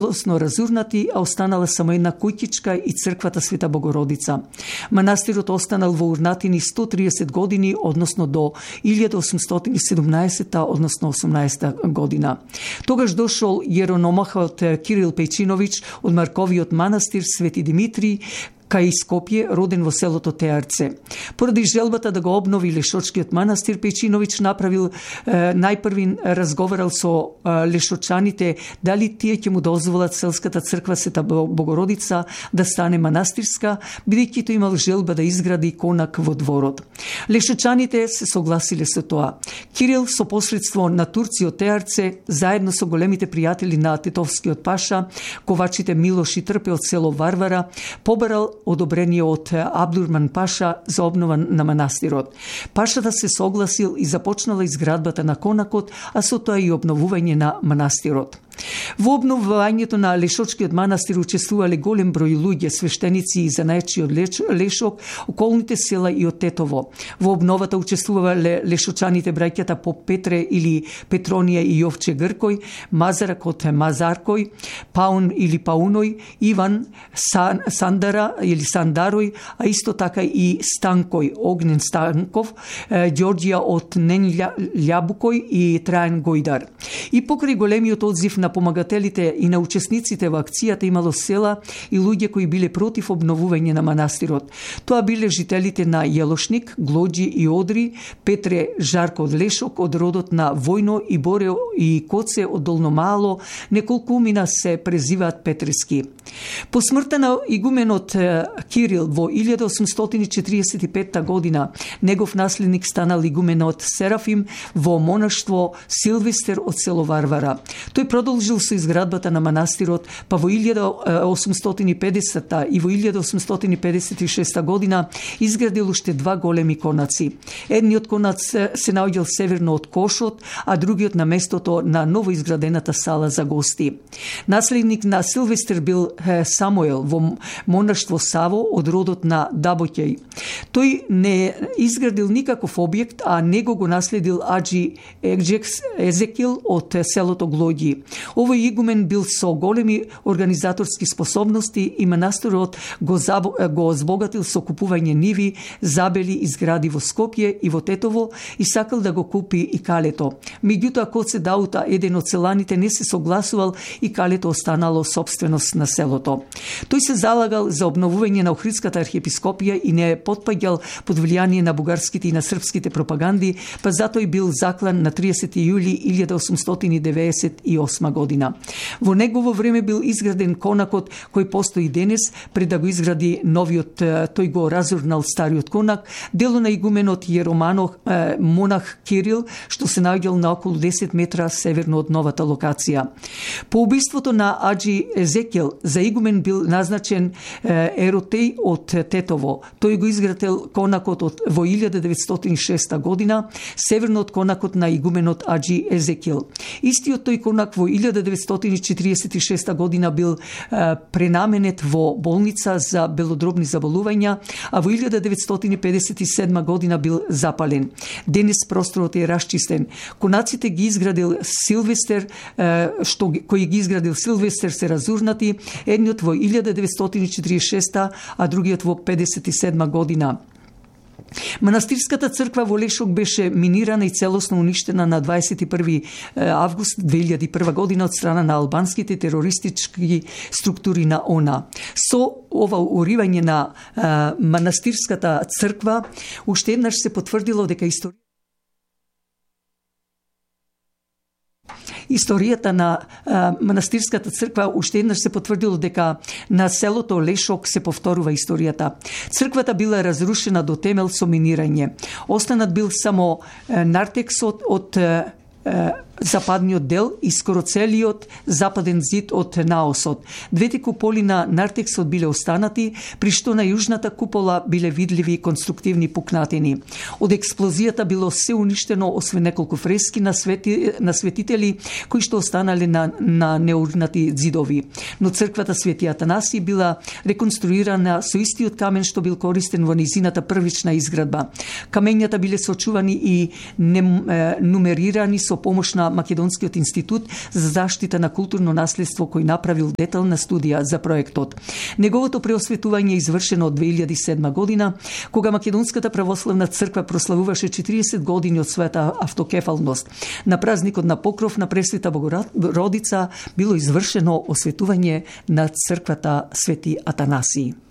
целосно разурнати, а останала само една куќичка и црквата Света Богородица. Манастирот останал во урнатини 130 години, односно до 1817, односно 18 година. Тогаш дошол јерономахот Кирил Пејчиновиќ од Марковиот манастир Свети Димитри кај Скопје, роден во селото Теарце. Поради желбата да го обнови Лешочкиот манастир, Пејчиновиќ направил најпрви разговарал со лешочаните дали тие ќе му дозволат селската црква Света Богородица да стане манастирска, бидејќи тој имал желба да изгради конак во дворот. Лешочаните се согласиле со тоа. Кирил со посредство на турци од Теарце, заедно со големите пријатели на тетовскиот паша, ковачите Милош и Трпе од село Варвара, побарал одобрение од Абдурман Паша за обнова на манастирот. Пашата се согласил и започнала изградбата на конакот, а со тоа и обновување на манастирот. Во обновувањето на Лешочкиот манастир учествувале голем број луѓе, свештеници и занаечи од Лешок, околните села и од Тетово. Во обновата учествувале лешочаните браќата Поп Петре или Петронија и Јовче Гркој, Мазарак од Мазаркој, Паун или Пауној, Иван Сандара или Сандарој, а исто така и Станкој, Огнен Станков, Ѓорѓија од Нен Љабукој и Трајан Гојдар. И покрај големиот одзив на помагателите и на учесниците во акцијата имало села и луѓе кои биле против обновување на манастирот. Тоа биле жителите на Јелошник, Глоđи и Одри, Петре Жарко од Лешок, од родот на Војно и Боре и Коце од Долно Мало, неколкумина се презиваат Петрески. По смртта на игуменот Кирил во 1845 година, негов наследник станал игуменот Серафим во монаштво Силвестер од село Варвара. Тој продолжил со изградбата на манастирот, па во 1850 и во 1856 година изградил уште два големи конаци. Едниот конац се наоѓал северно од Кошот, а другиот на местото на новоизградената сала за гости. Наследник на Силвестер бил Самуел во монаштво Саво од родот на Дабоќеј. Тој не изградил никаков објект, а него го наследил Аджи Езекил од селото Глоѓи. Овој игумен бил со големи организаторски способности и манастирот го збогатил со купување ниви, забели и згради во Скопје и во Тетово и сакал да го купи и калето. Меѓутоа, Коце Даута, еден од селаните, не се согласувал и калето останало собственост на селото. Тој се залагал за обновување на Охридската архиепископија и не потпаѓал под влијание на бугарските и на српските пропаганди, па затоа и бил заклан на 30 јули 1898 година. Во негово време бил изграден конакот кој постои денес, пред да го изгради новиот, тој го разурнал стариот конак, дело на игуменот Јероманох монах Кирил, што се наоѓал на околу 10 метра северно од новата локација. По убиството на Аджи Езекил за игумен бил назначен Еротеј од Тетово. Тој го изградил конакот во 1906 година, северно од конакот на игуменот Аджи Езекил. Истиот тој конак во 1946 година бил пренаменет во болница за белодробни заболувања, а во 1957 година бил запален. Денес просторот е расчистен. Конаците ги изградил Силвестер, кои ги изградил Силвестер се разурнати, едниот во 1946, а другиот во 57 година. Манастирската црква во Лешок беше минирана и целосно уништена на 21 август 2001 година од страна на албанските терористички структури на ОНА. Со ова уривање на манастирската црква уште еднаш се потврдило дека Историјата на манастирската црква уште еднаш се потврдило дека на селото Лешок се повторува историјата. Црквата била разрушена до темел со минирање. Останат бил само нартексот од западниот дел и скоро целиот западен зид од наосот. Двете куполи на нартексот биле останати, при што на јужната купола биле видливи конструктивни пукнатини. Од експлозијата било се уништено, освен неколку фрески на светители кои што останале на неурнати зидови. Но црквата Свети Атанаси била реконструирана со истиот камен што бил користен во низината првична изградба. Камењата биле сочувани и нумерирани со помош на на Македонскиот институт за заштита на културно наследство, кој направил детална студија за проектот. Неговото преосветување е извршено од 2007 година, кога Македонската православна црква прославуваше 40 години од својата автокефалност. На празникот на покров на Пресвета Богородица било извршено осветување на црквата Свети Атанасиј.